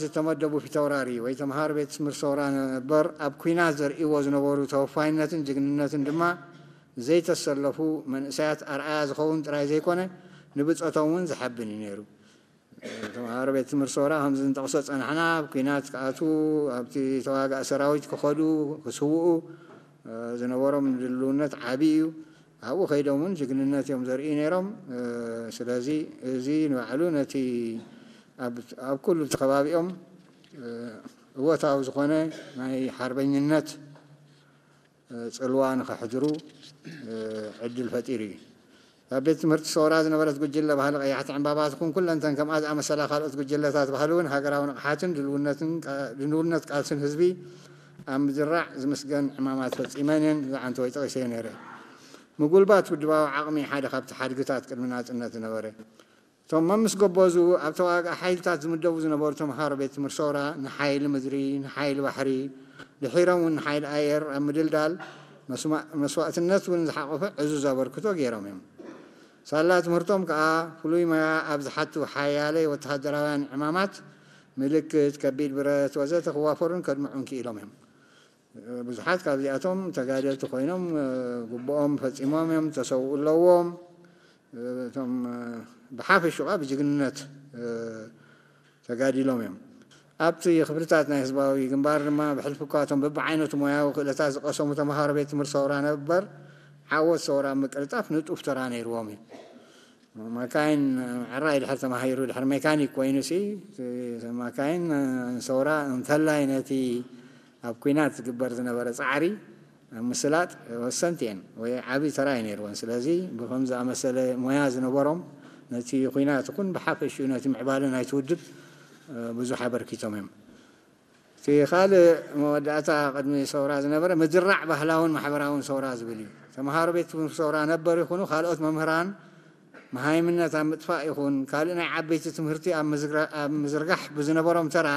ዝተመደቡ ፊተውራሪ ወይ ተምሃሮ ቤት ትምህርቲ ሰውራ ነበር ኣብ ኲናት ዘርእይዎ ዝነበሩ ተወፋይነትን ጅግንነትን ድማ ዘይተሰለፉ መንእሰያት ኣርኣያ ዝኸውን ጥራይ ዘይኮነ ንብጸቶም እውን ዘሐብን እዩ ነይሩ። ተምሃሮ ቤት ትምህርቲ ሰውራ ከምዚ ንጠቕሶ ጸናሕና ኣብ ኲናት ክኣትዉ ኣብቲ ተዋጋእ ሰራዊት ክኸዱ ክስውኡ ዝነበሮም ድልውነት ዓቢ እዩ። ኣብኡ ከይዶም እውን ጅግንነት እዮም ዘርእዩ ነይሮም። ስለዚ እዚ ንባዕሉ ነቲ ኣብ ኩሉ እቲ ከባቢኦም እወታዊ ዝኾነ ናይ ሓርበኝነት ጽልዋ ንኸሕድሩ ዕድል ፈጢሩ እዩ። ኣብ ቤት ትምህርቲ ሰውራ ዝነበረት ጉጅለ ባህሊ ቀያሕቲ ዕምባባ ትኹን ኩለንተን ከምኣ ዝኣመሰላ ካልኦት ጉጅለታት ባህሊ እውን ሃገራዊ ንቕሓትን ድልውነት ቃልስን ህዝቢ ኣብ ምዝራዕ ዝምስገን ዕማማት ፈጺመን እየን። ዝዓንተወይ ጠቒሰዮ ነይረ። ምጉልባት ውድባዊ ዓቕሚ ሓደ ካብቲ ሓድግታት ቅድሚ ናጽነት ዝነበረ እቶም መምስ ገቦ ዝኡ ኣብ ተዋጋእ ሓይልታት ዝምደቡ ዝነበሩ ተምሃሮ ቤት ትምህርቲ ሰውራ ንሓይሊ ምድሪ፣ ንሓይሊ ባሕሪ፣ ድሒሮም እውን ንሓይሊ ኣየር ኣብ ምድልዳል መስዋእትነት እውን ዝሓቆፈ ዕዙዝ ኣበርክቶ ገይሮም እዮም። ሳላ ትምህርቶም ከኣ ፍሉይ ሞያ ኣብ ዝሓቱ ሓያለይ ወተሃደራውያን ዕማማት ምልክት፣ ከቢድ ብረት ወዘተ ክዋፈሩን ከድምዑን ክኢሎም እዮም። ብዙሓት ካብዚኣቶም ተጋደልቲ ኮይኖም ግቡኦም ፈጺሞም እዮም፣ ተሰውኡ ኣለዎም። እቶም ብሓፈሽኡ ብጅግንነት ተጋዲሎም እዮም። ኣብቲ ክፍልታት ናይ ህዝባዊ ግንባር ድማ ብሕልፊ እኳ እቶም በብዓይነቱ ሞያዊ ክእለታት ዝቐሰሙ ተምሃሮ ቤት ትምህርቲ ሰውራ ነበር ዓወት ሰውራ ኣብ ምቅልጣፍ ንጡፍ ተራ ነይርዎም እዩ። ማካይን ዕራይ ድሕር ተማሂሩ ድሕር ሜካኒክ ኮይኑ ሲ ማካይን ሰውራ እንተላይ ነቲ ኣብ ኲናት ዝግበር ዝነበረ ጻዕሪ ኣብ ምስላጥ ወሰንቲ እየን ወይ ዓቢ ተራ እዩ ነይርወን። ስለዚ ብከም ዝኣመሰለ ሞያ ዝነበሮም ነቲ ኲናት ይኹን ብሓፈሽኡ ነቲ ምዕባለ ናይቲ ውድብ ብዙሕ ኣበርኪቶም እዮም። እቲ ካልእ መወዳእታ ቅድሚ ሰውራ ዝነበረ ምድራዕ ባህላውን ማሕበራውን ሰውራ ዝብል እዩ። ተምሃሮ ቤት ትምህርቲ ሰውራ ነበር ይኹኑ ካልኦት መምህራን መሃይምነት ኣብ ምጥፋእ ይኹን ካልእ ናይ ዓበይቲ ትምህርቲ ኣብ ምዝርጋሕ ብዝነበሮም ተራ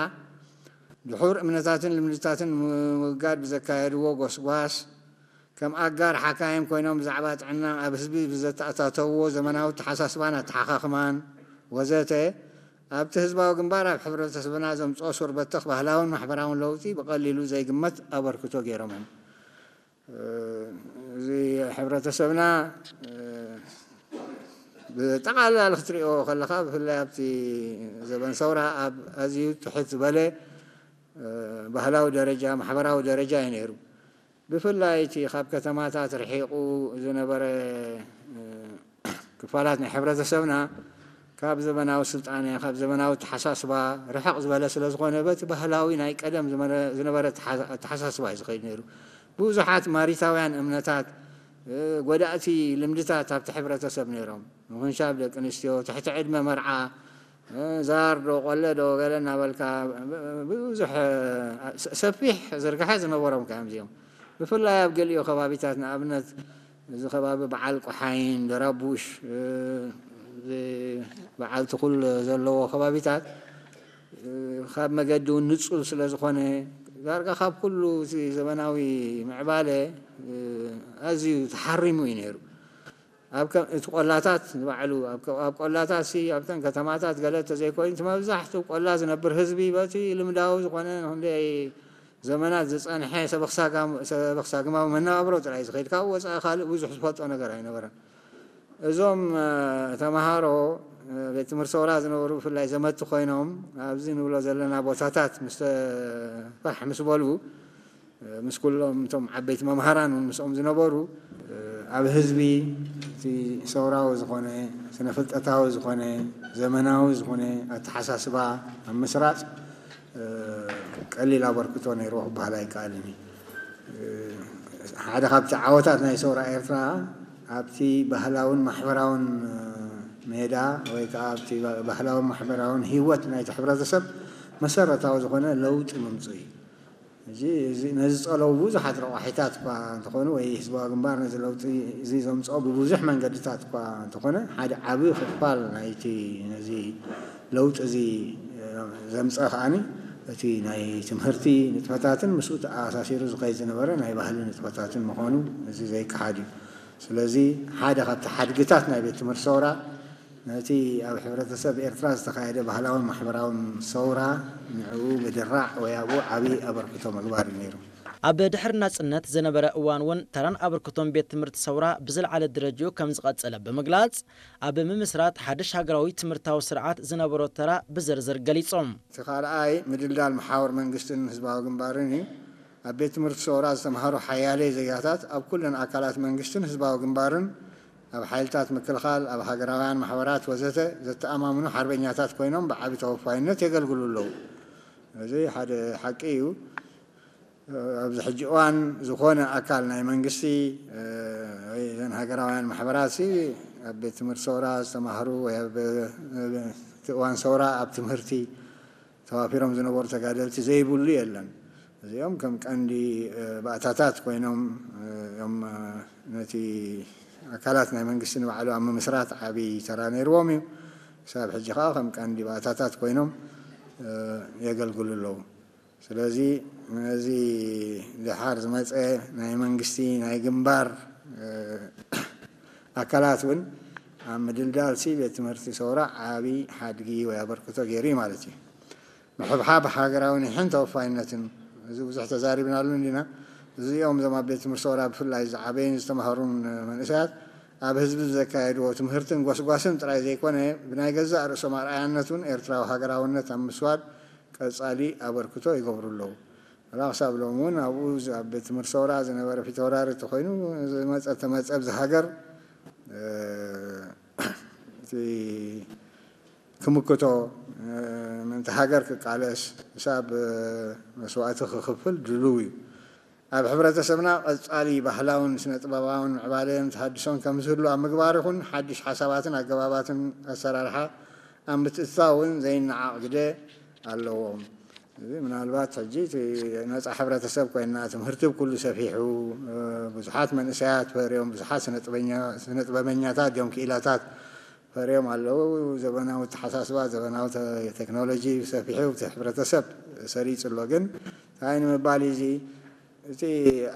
ድሑር እምነታትን ልምድታትን ንምውጋድ ብዘካየድዎ ጎስጓስ ከም ኣጋር ሓካይም ኮይኖም ብዛዕባ ጥዕና ኣብ ህዝቢ ብዘተኣታተውዎ ዘመናዊ ኣተሓሳስባን ኣተሓኻኽማን ወዘተ ኣብቲ ህዝባዊ ግንባር ኣብ ሕብረተሰብና ዘምፅኦ ሱር በተኽ ባህላውን ማሕበራውን ለውጢ ብቐሊሉ ዘይግመት ኣበርክቶ ገይሮም እዮም። እዚ ሕብረተሰብና ብጠቓላሊ ክትሪኦ ከለኻ ብፍላይ ኣብቲ ዘበን ሰውራ ኣብ ኣዝዩ ትሕት ዝበለ ባህላዊ ደረጃ ማሕበራዊ ደረጃ እዩ ነይሩ። ብፍላይ እቲ ካብ ከተማታት ርሒቑ ዝነበረ ክፋላት ናይ ሕብረተሰብና ካብ ዘበናዊ ስልጣነ ካብ ዘበናዊ ተሓሳስባ ርሕቕ ዝበለ ስለ ዝኾነ በቲ ባህላዊ ናይ ቀደም ዝነበረ ኣተሓሳስባ እዩ ዝኸይድ ነይሩ። ብዙሓት ማሪታውያን እምነታት ጎዳእቲ ልምድታት ኣብቲ ሕብረተሰብ ነይሮም። ምኹንሻብ ደቂ ኣንስትዮ ትሕቲ ዕድመ መርዓ ዛር ዶ ቆለ ዶ ገለ እናበልካ ብዙሕ ሰፊሕ ዝርግሐ ዝነበሮም ከ እዚኦም ብፍላይ ኣብ ገሊኦ ከባቢታት ንኣብነት እዚ ከባቢ በዓል ቆሓይን ደራቡሽ በዓል ትኹል ዘለዎ ከባቢታት ካብ መገዲ እውን ንፁል ስለ ዝኾነ ዳርጋ ካብ ኩሉ እቲ ዘበናዊ ምዕባለ ኣዝዩ ተሓሪሙ እዩ ነይሩ። ኣብ እቲ ቆላታት ንባዕሉ ኣብ ቆላታት ሲ ኣብተን ከተማታት ገለ ተዘይኮይኑ እቲ መብዛሕትኡ ቆላ ዝነብር ህዝቢ በቲ ልምዳዊ ዝኾነ ንክንደይ ዘመናት ዝፀንሐ ሰበኽሳግማዊ መነባብሮ ጥራይ ዝኸይድ ካብኡ ወፃኢ ካልእ ብዙሕ ዝፈልጦ ነገር ኣይነበረን። እዞም ተምሃሮ ቤት ትምህርቲ ሰውራ ዝነበሩ ብፍላይ ዘመቲ ኮይኖም ኣብዚ ንብሎ ዘለና ቦታታት ምስ ፋሕ ምስ በሉ ምስ ኩሎም እቶም ዓበይቲ መምሃራን እውን ምስኦም ዝነበሩ ኣብ ህዝቢ እቲ ሰውራዊ ዝኾነ ስነ ፍልጠታዊ ዝኾነ ዘመናዊ ዝኾነ ኣተሓሳስባ ኣብ ምስራፅ ቀሊል ኣበርክቶ ነይርዎ ክበሃል ኣይከኣልን እዩ። ሓደ ካብቲ ዓወታት ናይ ሰውራ ኤርትራ ኣብቲ ባህላውን ማሕበራውን ሜዳ ወይ ከዓ ኣብቲ ባህላውን ማሕበራውን ህይወት ናይቲ ሕብረተሰብ መሰረታዊ ዝኾነ ለውጢ ምምፁ እዩ። እዚ ነዚ ዝፀለዉ ብዙሓት ረቋሒታት እኳ እንተኾኑ ወይ ህዝባዊ ግንባር ነዚ ለውጢ እዚ ዘምፅኦ ብብዙሕ መንገድታት እኳ እንተኾነ ሓደ ዓብዪ ክፋል ናይቲ ነዚ ለውጢ እዚ ዘምፀ ከዓኒ እቲ ናይ ትምህርቲ ንጥፈታትን ምስኡ ተኣሳሲሩ ዝኸይድ ዝነበረ ናይ ባህሊ ንጥፈታትን ምዃኑ እዚ ዘይከሓድ እዩ። ስለዚ ሓደ ካብቲ ሓድግታት ናይ ቤት ትምህርቲ ሰውራ እቲ ኣብ ሕብረተሰብ ኤርትራ ዝተኻየደ ባህላውን ማሕበራውን ሰውራ ንዕኡ ምድራዕ ወይ ኣብኡ ዓቢ ኣበርክቶ ምግባር እዩ ነይሩ። ኣብ ድሕሪ ናጽነት ዝነበረ እዋን እውን ተራን ኣበርክቶን ቤት ትምህርቲ ሰውራ ብዝለዓለ ደረጃኡ ከም ዝቐጸለ ብምግላጽ፣ ኣብ ምምስራት ሓድሽ ሃገራዊ ትምህርታዊ ስርዓት ዝነበሮ ተራ ብዝርዝር ገሊጾም። እቲ ካልኣይ ምድልዳል መሓውር መንግስትን ህዝባዊ ግንባርን እዩ። ኣብ ቤት ትምህርቲ ሰውራ ዝተምሃሩ ሓያለይ ዜጋታት ኣብ ኩለን ኣካላት መንግስትን ህዝባዊ ግንባርን ኣብ ሓይልታት ምክልኻል፣ ኣብ ሃገራውያን ማሕበራት ወዘተ ዘተኣማምኑ ሓርበኛታት ኮይኖም ብዓቢ ተወፋይነት የገልግሉ ኣለዉ። እዚ ሓደ ሓቂ እዩ። ኣብዚ ሕጂ እዋን ዝኾነ ኣካል ናይ መንግስቲ ወይ ዘን ሃገራውያን ማሕበራት ሲ ኣብ ቤት ትምህርቲ ሰውራ ዝተማህሩ ወይ ኣብ እቲ እዋን ሰውራ ኣብ ትምህርቲ ተዋፊሮም ዝነበሩ ተጋደልቲ ዘይብሉ የለን። እዚኦም ከም ቀንዲ ባእታታት ኮይኖም እዮም ነቲ ኣካላት ናይ መንግስቲ ንባዕሉ ኣብ ምምስራት ዓብዪ ተራ ነይርዎም እዩ። ክሳብ ሕጂ ከዓ ከም ቀንዲ ባእታታት ኮይኖም የገልግሉ ኣለዉ። ስለዚ ነዚ ደሓር ዝመፀ ናይ መንግስቲ ናይ ግንባር ኣካላት እውን ኣብ ምድልዳል ሲ ቤት ትምህርቲ ሰውራ ዓብዪ ሓድጊ ወይ ኣበርክቶ ገይሩ እዩ ማለት እዩ። ምሕብሓብ ሃገራዊ ኒሕን ተወፋይነትን፣ እዚ ብዙሕ ተዛሪብናሉ እንዲና። እዚኦም እዞም ኣብ ቤት ትምህርቲ ሰውራ ብፍላይ ዝዓበዩን ዝተማህሩን መንእሰያት ኣብ ህዝቢ ዘካየድዎ ትምህርትን ጎስጓስን ጥራይ ዘይኮነ ብናይ ገዛእ ርእሶም ኣርኣያነት እውን ኤርትራዊ ሃገራውነት ኣብ ምስዋድ ቀጻሊ ኣበርክቶ ይገብሩ ኣለዉ። ወላ ክሳብ ሎሚ እውን ኣብኡ ኣብ ቤት ትምህርቲ ሰውራ ዝነበረ ፊተውራሪ ተኮይኑ ዝመፀ ተመፀ ኣብዚ ሃገር እቲ ክምክቶ ምእንቲ ሃገር ክቃለስ ክሳብ መስዋእቲ ክኽፍል ድልው እዩ። ኣብ ሕብረተሰብና ቀጻሊ ባህላውን ስነ ጥበባውን ምዕባለን ተሃድሶን ከም ዝህሉ ኣብ ምግባር ይኹን ሓድሽ ሓሳባትን ኣገባባትን ኣሰራርሓ ኣብ ምትእትታው እውን ዘይነዓቕ ግደ ኣለዎም። እዚ ምናልባት ሕጂ እቲ ነጻ ሕብረተሰብ ኮይና ትምህርቲ ብኩሉ ሰፊሑ ብዙሓት መንእሰያት ፈርዮም ብዙሓት ስነ ጥበበኛታት እዮም ክኢላታት ፈርዮም ኣለዉ። ዘበናዊ ኣተሓሳስባ ዘበናዊ ቴክኖሎጂ ሰፊሑ እቲ ሕብረተሰብ ሰሪጹ ኣሎ። ግን እንታይ ንምባል እዚ እቲ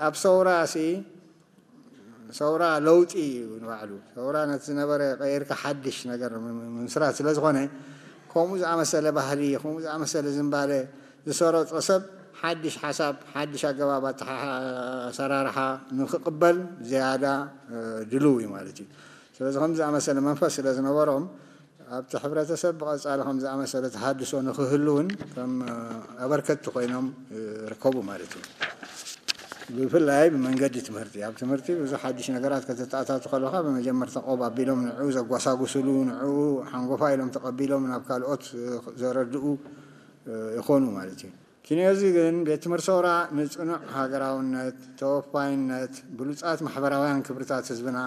ኣብ ሰውራ ሲ ሰውራ ለውጢ እዩ ንባዕሉ። ሰውራ ነቲ ዝነበረ ቀይርካ ሓድሽ ነገር ምምስራት ስለ ዝኾነ ከምኡ ዝኣመሰለ ባህሊ ከምኡ ዝኣመሰለ ዝንባለ ዝሰረጾ ሰብ ሓድሽ ሓሳብ ሓድሽ ኣገባብ ኣሰራርሓ ንክቕበል ዝያዳ ድልው እዩ ማለት እዩ። ስለዚ ከም ዝኣመሰለ መንፈስ ስለ ዝነበሮም ኣብቲ ሕብረተሰብ ብቐጻሊ ከም ዝኣመሰለ ተሃድሶ ንክህሉ እውን ከም ኣበርከቲ ኮይኖም ይርከቡ ማለት እዩ። ብፍላይ ብመንገዲ ትምህርቲ ኣብ ትምህርቲ ብዙሕ ሓድሽ ነገራት ከተተኣታቱ ከለካ ብመጀመርታ ቆብ ኣቢሎም ንዕኡ ዘጓሳጉስሉ ንዕኡ ሓንጎፋ ኢሎም ተቐቢሎም ናብ ካልኦት ዘረድኡ ይኾኑ ማለት እዩ። ኪንዮዚ ግን ቤት ትምህርቲ ሰውራ ንጽኑዕ ሃገራውነት፣ ተወፋይነት፣ ብሉጻት ማሕበራውያን ክብርታት ህዝብና፣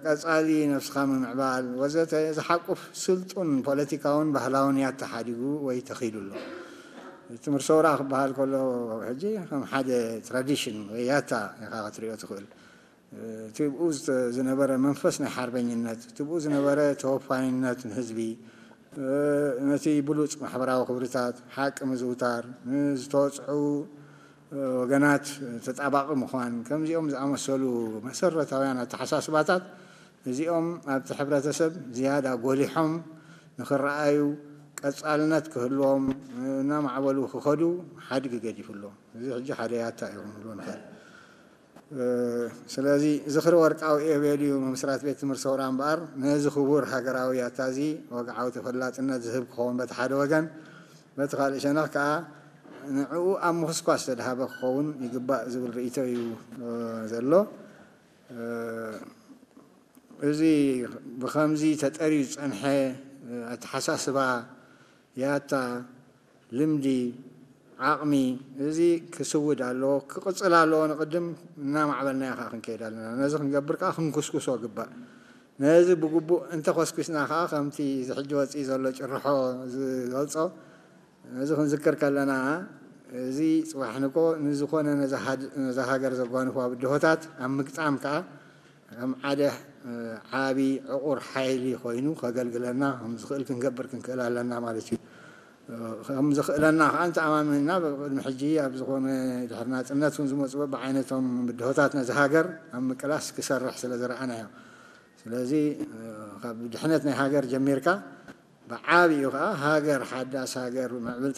ቀጻሊ ነብስኻ ምምዕባል ወዘተ ዝሓቁፍ ስልጡን ፖለቲካውን ባህላውን ያታ ሓዲጉ ወይ ተኺሉ ኣሎ። ትምህርቲ ሰውራ ክበሃል ከሎ ሕጂ ከም ሓደ ትራዲሽን ወይ ያታ ኢኻ ክትሪኦ ትኽእል። ትብኡ ዝነበረ መንፈስ ናይ ሓርበኝነት፣ ትብኡ ዝነበረ ተወፋይነት ንህዝቢ፣ ነቲ ብሉጽ ማሕበራዊ ክብርታት፣ ሓቂ ምዝውታር፣ ንዝተወጽዑ ወገናት ተጣባቒ ምዃን፣ ከምዚኦም ዝኣመሰሉ መሰረታውያን ኣተሓሳስባታት እዚኦም ኣብቲ ሕብረተሰብ ዝያዳ ጎሊሖም ንኽረኣዩ፣ ቀጻልነት ክህልዎም፣ እናማዕበሉ ክኸዱ ሓድጊ ገዲፉ ኣሎ። እዚ ሕጂ ሓደ ያታ እዩ ክንብሎ ንኽእል። ስለዚ ዝኽሪ ወርቃዊ ኢዮቤልዩ ምምስራት ቤት ትምህርቲ ሰውራ እምበኣር ነዚ ክቡር ሃገራዊ ያታ እዚ ወግዓዊ ተፈላጥነት ዝህብ ክኸውን በቲ ሓደ ወገን፣ በቲ ካልእ ሸነኽ ከኣ ንዕኡ ኣብ ምኹስኳስ ዝተድሃበ ክኸውን ይግባእ ዝብል ርእይቶ እዩ ዘሎ። እዚ ብኸምዚ ተጠርዩ ዝጸንሐ ኣተሓሳስባ ያታ፣ ልምዲ፣ ዓቕሚ፣ እዚ ክስውድ ኣለዎ፣ ክቕጽል ኣለዎ። ንቕድም እናማዕበልናዮ ከኣ ክንከይድ ኣለና። ነዚ ክንገብር ከኣ ክንኩስኩሶ ግባእ። ነዚ ብግቡእ እንተኾስኩስና ከኣ ከምቲ እዚ ሕጂ ወጺኡ ዘሎ ጭርሖ ዝገልጾ፣ ነዚ ክንዝክር ከለና፣ እዚ ጽባሕ ንኮ ንዝኾነ ነዛ ሃድ- ነዛ ሃገር ዘጓንፉዋ ብድሆታት ኣብ ምግጣም ከኣ ከም ሓደ ዓቢ ዕቑር ሓይሊ ኮይኑ ከገልግለና ከም ዝኽእል ክንገብር ክንክእል ኣለና ማለት እዩ። ከም ዝኽእለና ከዓ እንተኣማሚንና ቅድሚ ሕጂ ኣብ ዝኾነ ድሕሪ ናፅነት እውን ዝመፁ በብዓይነቶም ብድሆታት ነዚ ሃገር ኣብ ምቅላስ ክሰርሕ ስለ ዝረኣናዮ። ስለዚ ካብ ድሕነት ናይ ሃገር ጀሚርካ ብዓብኡ ከዓ ሃገር ሓዳስ ሃገር ምዕብል